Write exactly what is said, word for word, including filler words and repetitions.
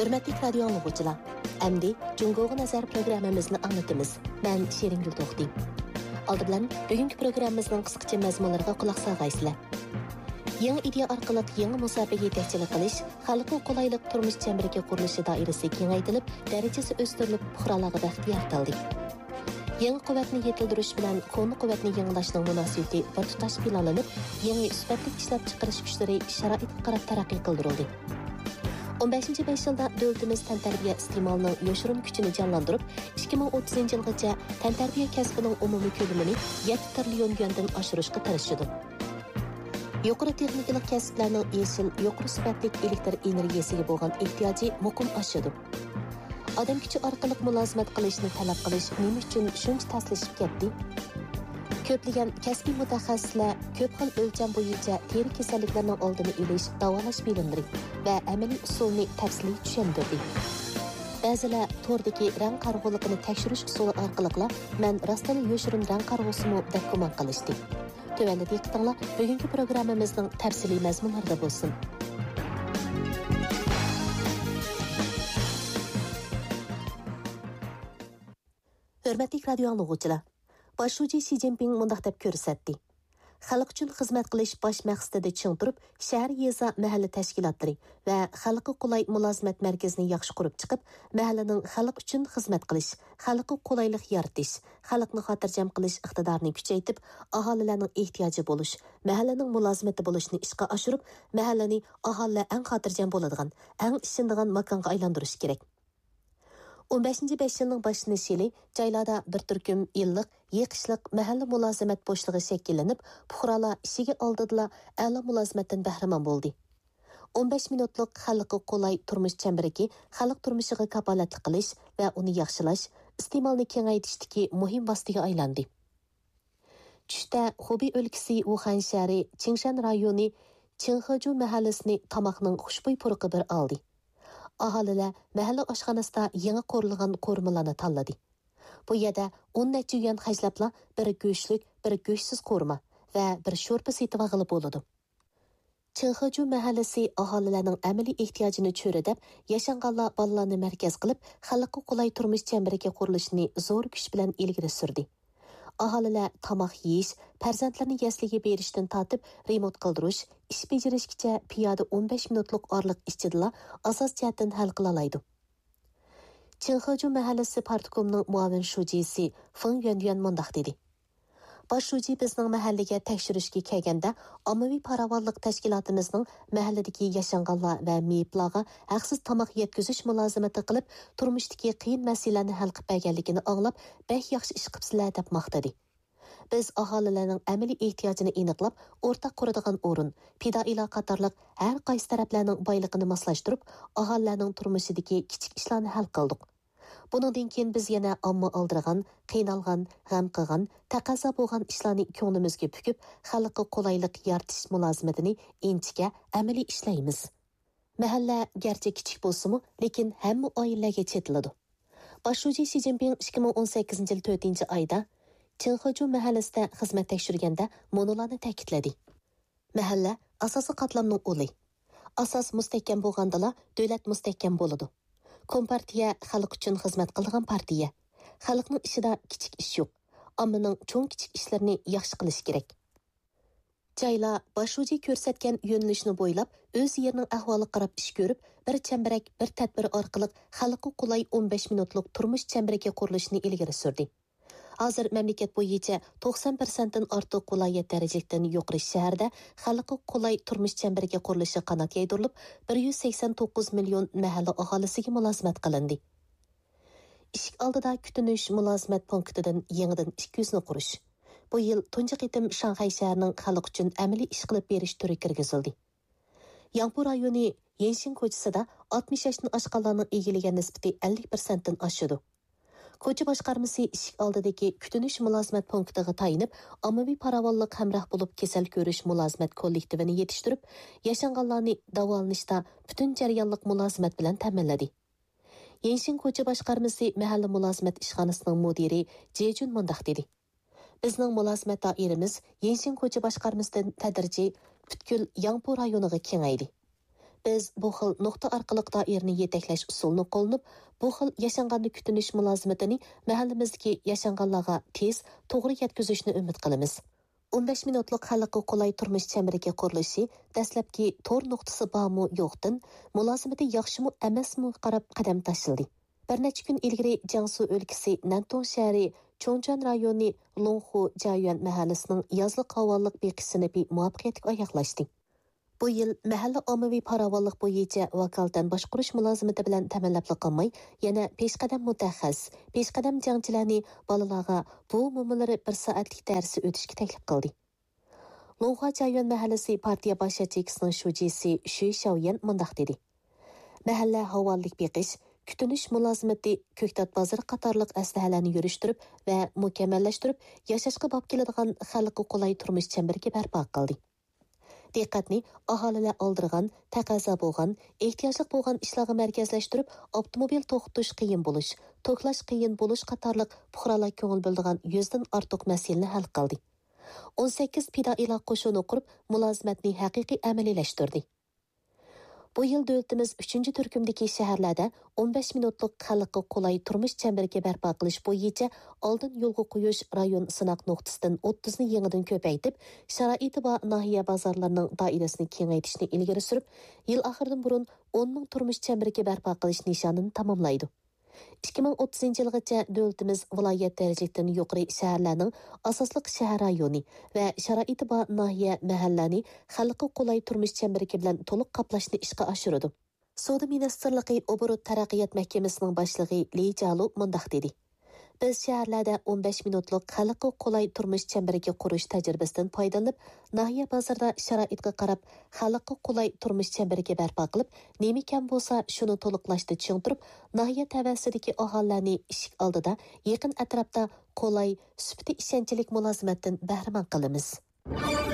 ھۆرمەتلىك رادىيو ئاڭلىغۇچىلار، ئەمدى جۇڭگوغا نەزەر پروگراممىمىزنى ئاڭلىتىمىز. مەن شېرىنگۈل توختى. ئالدى بىلەن بۈگۈنكى پروگراممىمىزنىڭ قىسقىچە مەزمۇنلىرىغا قۇلاق سالغايسىلەر. يېڭى ئىدىيە ئارقىلىق يېڭى مۇساپىگە يېتەكچىلىك قىلىش، خەلققە قولايلىق تۇرمۇش چەمبىرىكى قۇرۇلۇشى دائىرىسى كېڭەيتىلىپ، دەرىجىسى ئۆستۈرۈلۈپ، پۇقرالارغا بەخت يارىتىلدى. يېڭى قۇۋۋەتنى يېتىلدۈرۈش بىلەن كونا قۇۋۋەتنى يېڭىلاشنىڭ مۇناسىۋىتى بىر تۇتاش پىلانلىنىپ، يېڭى سۈپەتلىك ئىشلەپچىقىرىش كۈچلىرى شارائىتقا قاراپ تەرەققىي قىلدۇرۇلدى. ئون بەشىنچى بەش يىلدا دۆلىتىمىز تەنتەربىيە ئىستېمالىنىڭ يوشۇرۇن كۈچىنى جانلاندۇرۇپ، ئىككى مىڭ ئوتتۇزىنچى يىلغىچە تەنتەربىيە كەسپىنىڭ ئومۇمىي كۆلىمىنى يەتتە تىرىليون يۈەندىن ئاشۇرۇشقا تىرىشىدۇ. يۇقىرى تېخنىكىلىق كەسىپلەرنىڭ يېشىل، يۇقىرى سۈپەتلىك ئېلېكتر ئېنېرگىيەسىگە بولغان ئېھتىياجى مۇقىم ئاشىدۇ. ئادەم كۈچى ئارقىلىق مۇلازىمەت قىلىشنى تەلەپ قىلىش نېمە ئۈچۈن شۇنچە تەسلىشىپ كەتتى؟ كۆپلىگەن كەسپىي مۇتەخەسسىسلەر كۆپ خىل ئۆلچەم بويىچە تېرە كېسەللىكلىرىنىڭ ئالدىنى ئېلىش، داۋالاش بىلىملىرى ۋە ئەمەلىي ئۇسۇلنى تەپسىلىي چۈشەندۈردى. بەزىلەر توردىكى رەڭ قارىغۇلۇقىنى تەكشۈرۈش ئۇسۇلى ئارقىلىقلا مەن راستتىنلا يوشۇرۇن رەڭ قارىغۇسىمۇ دەپ گۇمان قىلىشتى. تۆۋەندە دىققىتىڭلار بۈگۈنكى پروگراممىمىزنىڭ تەپسىلىي مەزمۇنلىرىدا بولسۇن. ھۆرمەتلىك رادىيو ئاڭلىغۇچىلار، باش شۇجى شى جىنپىڭ مۇنداق دەپ كۆرسەتتى: خەلق ئۈچۈن خىزمەت قىلىش باش مەقسىتىدە چىڭ تۇرۇپ، شەھەر، يېزا، مەھەللە تەشكىلاتلىرى ۋە خەلققە قولاي مۇلازىمەت مەركىزىنى ياخشى قۇرۇپ چىقىپ، مەھەللىنىڭ خەلق ئۈچۈن خىزمەت قىلىش، خەلققە قولايلىق يارىتىش، خەلقنى خاتىرجەم قىلىش ئىقتىدارىنى كۈچەيتىپ، ئاھالىلەرنىڭ ئېھتىياجى بولۇش، مەھەللىنىڭ مۇلازىمىتى بولۇشنى ئىشقا ئاشۇرۇپ، مەھەللىنى ئاھالىلەر ئەڭ خاتىرجەم بولىدىغان، ئەڭ ئىشىنىدىغان ماكانغا ئايلاندۇرۇش كېرەك. ئون بەشىنچى بەش يىلنىڭ باشلىنىش يىلى جايلاردا بىر تۈركۈم ئىللىق، يېقىشلىق مەھەللە مۇلازىمەت بوشلۇقى شەكىللىنىپ، پۇقرالار ئىشىكى ئالدىدىلا ئەلا مۇلازىمەتتىن بەھرىمەن بولدى. ئون بەش مىنۇتلۇق خەلققە قولاي تۇرمۇش چەمبىرىكى خەلق تۇرمۇشىغا كاپالەتلىك قىلىش ۋە ئۇنى ياخشىلاش، ئىستېمالنى كېڭەيتىشتىكى مۇھىم ۋاسىتىگە ئايلاندى. چۈشتە خۇبېي ئۆلكىسى ۋۇخەن شەھىرى چىڭشەن رايونى چىڭخېجۇ مەھەللىسىنى تاماقنىڭ خۇشبۇي پۇرىقى بىر ئالدى. ئاھالىلەر مەھەللە ئاشخانىسىدا يېڭى قورۇلغان قورۇمىلارنى تاللىدى. بۇ يەردە ئون نەچچە يۈەن خەجلەپلا بىر گۆشلۈك، بىر گۆشسىز قورۇما ۋە بىر شورپا سېتىۋالغىلى بولىدۇ. چىڭخېجۇ مەھەللىسى ئاھالىلەرنىڭ ئەمەلىي ئېھتىياجىنى چۆرىدەپ، ياشانغانلار بالىلارنى مەركەز قىلىپ، خەلققە قولاي تۇرمۇش چەمبىرىكى قۇرۇلۇشىنى زور كۈچ بىلەن ئىلگىرى سۈردى. ئاھالىلەر تاماق يېيىش، پەرزەنتلىرىنى يەسلىگە بېرىشتىن تارتىپ، رېمونت قىلدۇرۇش، ئىش بېجىرىشكىچە پىيادە ئون بەش مىنۇتلۇق ئارىلىق ئىچىدىلا ئاساسىي جەھەتتىن ھەل قىلالايدۇ. چىڭخېجۇ مەھەللىسى پارتكومنىڭ مۇئاۋىن شۇجىسى فېڭ يۈەنيۈەن مۇنداق دېدى: باش شۇجى بىزنىڭ مەھەللىگە تەكشۈرۈشكە كەلگەندە، ئاممىۋى پاراۋانلىق تەشكىلاتىمىزنىڭ مەھەللىدىكى ياشانغانلار ۋە مېيىپلارغا ھەقسىز تاماق يەتكۈزۈش مۇلازىمىتى قىلىپ، تۇرمۇشتىكى قىيىن مەسىلىلەرنى ھەل قىلىپ بەرگەنلىكىنى ئاڭلاپ، بەك ياخشى ئىش قىپسىلەر دەپ ماختىدى. بىز ئاھالىلەرنىڭ ئەمەلىي ئېھتىياجىنى ئېنىقلاپ، ئورتاق قۇرىدىغان ئورۇن، پىدائىيلار قاتارلىق ھەر قايسى تەرەپلەرنىڭ بايلىقىنى ماسلاشتۇرۇپ، ئاھالىلەرنىڭ تۇرمۇشىدىكى كىچىك ئىشلارنى ھەل قىلدۇق. بۇنىڭدىن كېيىن بىز يەنە ئامما ئالدىرىغان، قىينالغان، غەم قىلغان، تەقەززا بولغان ئىشلارنى كۆڭلىمىزگە پۈكۈپ، خەلققە قولايلىق يارىتىش مۇلازىمىتىنى ئىنچىكە، ئەمەلىي ئىشلەيمىز. مەھەللە گەرچە كىچىك بولسىمۇ، لېكىن ھەممە ئائىلىلەرگە چېتىلىدۇ. باش شۇجى شى جىنپىڭ ئىككى مىڭ ئون سەككىزىنچى يىل تۆتىنچى ئايدا چىڭخېجۇ مەھەللىسىدە خىزمەت تەكشۈرگەندە مۇنۇلارنى تەكىتلىدى: مەھەللە ئاساسىي قاتلامنىڭ ئۇلى. ئاساس مۇستەھكەم بولغاندىلا، دۆلەت مۇستەھكەم بولىدۇ. كومپارتىيە خەلق ئۈچۈن خىزمەت قىلىدىغان پارتىيە. خەلقنىڭ ئىشىدا كىچىك ئىش يوق. ئاممىنىڭ چوڭ-كىچىك ئىشلىرىنى ياخشى قىلىشى كېرەك. جايلار باش شۇجى كۆرسەتكەن يۆنىلىشنى بويلاپ، ئۆز يېرىنىڭ ئەھۋالىغا قاراپ ئىش كۆرۈپ، بىر چەمبىرەك، بىر تەدبىر ئارقىلىق خەلققە قولاي ئون بەش مىنۇتلۇق تۇرمۇش چەمبىرىكى قۇرۇلۇشىنى ئىلگىرى سۈردى. ھازىر مەملىكەت بويىچە توقسان پىرسەنتتىن ئارتۇق ۋىلايەت دەرىجىلىكتىن يۇقىرى شەھەردە خەلققە قولاي تۇرمۇش چەمبىرىكى قۇرۇلۇشى قانات يايدۇرۇلۇپ، بىر يۈز سەكسەن توققۇز مىليون مەھەللە ئاھالىسىگە مۇلازىمەت قىلىندى. ئىشىك ئالدىدا كۈتۈنۈش مۇلازىمەت پونكىتىدىن يېڭىدىن ئىككى يۈزنى قۇرۇش. بۇ يىل تۇنجى قېتىم شاڭخەي شەھىرىنىڭ خەلق ئۈچۈن ئەمەلىي ئىش قىلىپ بېرىش تۈرى كىرگۈزۈلدى. ياڭپۇ رايونى يەنشىن كوچىسىدا ئاتمىش ياشتىن ئاشقانلارنىڭ ئىگىلىگەن نىسبىتى ئەللىك پىرسەنتتىن ئاشىدۇ. كوچا باشقارمىسى ئىشىك ئالدىدىكى كۈتۈنۈش مۇلازىمەت پونكىتىغا تايىنىپ، ئاممىۋى پاراۋانلىق ھەمراھ بولۇپ كېسەل كۆرۈش مۇلازىمەت كوللېكتىۋىنى يېتىشتۈرۈپ، ياشانغانلارنى داۋالىنىشتا پۈتۈن جەريانلىق مۇلازىمەت بىلەن تەمىنلىدى. يەنشىن كوچا باشقارمىسى مەھەللە مۇلازىمەت ئىشخانىسىنىڭ مۇدىرى جېجۈن مۇنداق دېدى: بىزنىڭ مۇلازىمەت دائىرىمىز يەنشىن كوچا باشقارمىسىدىن تەدرىجىي پۈتكۈل ياڭپۇ رايونىغا كېڭەيدى. بىز بۇ خىل نۇقتا ئارقىلىق دائىرىنى يېتەكلەش ئۇسۇلىنى قوللىنىپ، بۇ خىل ياشانغاندا كۈتۈنۈش مۇلازىمىتىنى مەھەللىمىزدىكى ياشانغانلارغا تېز، توغرا يەتكۈزۈشنى ئۈمىد قىلىمىز. ئون بەش مىنۇتلۇق خەلققە قولاي تۇرمۇش چەمبىرىكى قۇرۇلۇشى دەسلەپكى تور نۇقتىسى بارمۇ يوقتىن، مۇلازىمىتى ياخشىمۇ ئەمەسمۇ قاراپ قەدەم تاشلىدى. بىر نەچچە كۈن ئىلگىرى جياڭسۇ ئۆلكىسى نەنتۇڭ شەھىرى چوڭجۈەن رايونى لوڭخۇ جيايۈەن مەھەللىسىنىڭ يازلىق ھاۋانلىق بېقىش سىنىپى مۇۋەپپەقىيەتلىك ئاياغلاشتى. بۇ يىل مەھەللە ئاممىۋى پاراۋانلىق بويىچە ۋاكالىتەن باشقۇرۇش مۇلازىمىتى بىلەن تەمىنلەپلا قالماي، يەنە پېشقەدەم مۇتەخەسسىس، پېشقەدەم جەڭچىلەرنى بالىلارغا بۇ مومىلىرى بىر سائەتلىك دەرسى ئۆتۈشكە تەكلىپ قىلدى. لوڭخۇا جيايۈەن مەھەللىسى پارتىيە باش ياچېيكىسىنىڭ شۇجىسى شۈي شياۋيەن مۇنداق دېدى: مەھەللە ھاۋانلىق بېقىش، كۈتۈنۈش مۇلازىمىتى، كۆكتات بازىرى قاتارلىق ئەسلىھەلەرنى يۈرۈشتۈرۈپ ۋە مۇكەممەللەشتۈرۈپ، ياشاشقا باب كېلىدىغان خەلققە قولاي تۇرمۇش چەمبىرىكى بەرپا قىلدى. دىققەتنى ئاھالىلەر ئالدىرىغان، تەقەززا بولغان، ئېھتىياجلىق بولغان ئىشلارغا مەركەزلەشتۈرۈپ، ئاپتوموبىل توختىتىش قىيىن بولۇش، توكلاش قىيىن بولۇش قاتارلىق پۇقرالار كۆڭۈل بۆلىدىغان يۈزدىن ئارتۇق مەسىلىنى ھەل قىلدى. ئون سەككىز پىدائىيلار قوشۇنى قۇرۇپ، مۇلازىمەتنى ھەقىقىي ئەمەلىيلەشتۈردى. بۇ يىل دۆلىتىمىز ئۈچىنچى تۈركۈمدىكى شەھەرلەردە ئون بەش مىنۇتلۇق خەلققە قولاي تۇرمۇش چەمبىرىكى بەرپا قىلىش بويىچە ئالدىن يولغا قويۇش رايون سىناق نۇقتىسىدىن ئوتتۇزنى يېڭىدىن كۆپەيتىپ، شارائىتى بار ناھىيە بازارلىرىنىڭ دائىرىسىنى كېڭەيتىشنى ئىلگىرى سۈرۈپ، يىل ئاخىرىدىن بۇرۇن ئون مىڭ تۇرمۇش چەمبىرىكى بەرپا قىلىش نىشانىنى تاماملايدۇ. ئىككى مىڭ ئوتتۇزىنچى يىلغىچە دۆلىتىمىز ۋىلايەت دەرىجىلىكتىن يۇقىرى شەھەرلەرنىڭ ئاساسلىق شەھەر رايونى ۋە شارائىتى بار ناھىيە، مەھەللىلەرنى خەلققە قولاي تۇرمۇش چەمبىرىكى بىلەن تولۇق قاپلاشنى ئىشقا ئاشۇرىدۇ. سودا مىنىستىرلىقى ئوبوروت تەرەققىيات مەھكىمىسىنىڭ باشلىقى لى جالۇ مۇنداق دېدى: بىز شەھەرلەردە ئون بەش مىنۇتلۇق خەلققە قولاي تۇرمۇش چەمبىرىكى قۇرۇش تەجرىبىسىدىن پايدىلىنىپ، ناھىيە بازىرىدا شارائىتقا قاراپ، خەلققە قولاي تۇرمۇش چەمبىرىكى بەرپا قىلىپ، نېمە كەم بولسا، شۇنى تولۇقلاشتا چىڭ تۇرۇپ، ناھىيە تەۋەسىدىكى ئاھالىلەرنى ئىشىك ئالدىدا، يېقىن ئەتراپتا قولاي، سۈپىتى ئىشەنچلىك مۇلازىمەتتىن بەھرىمەن قىلىمىز.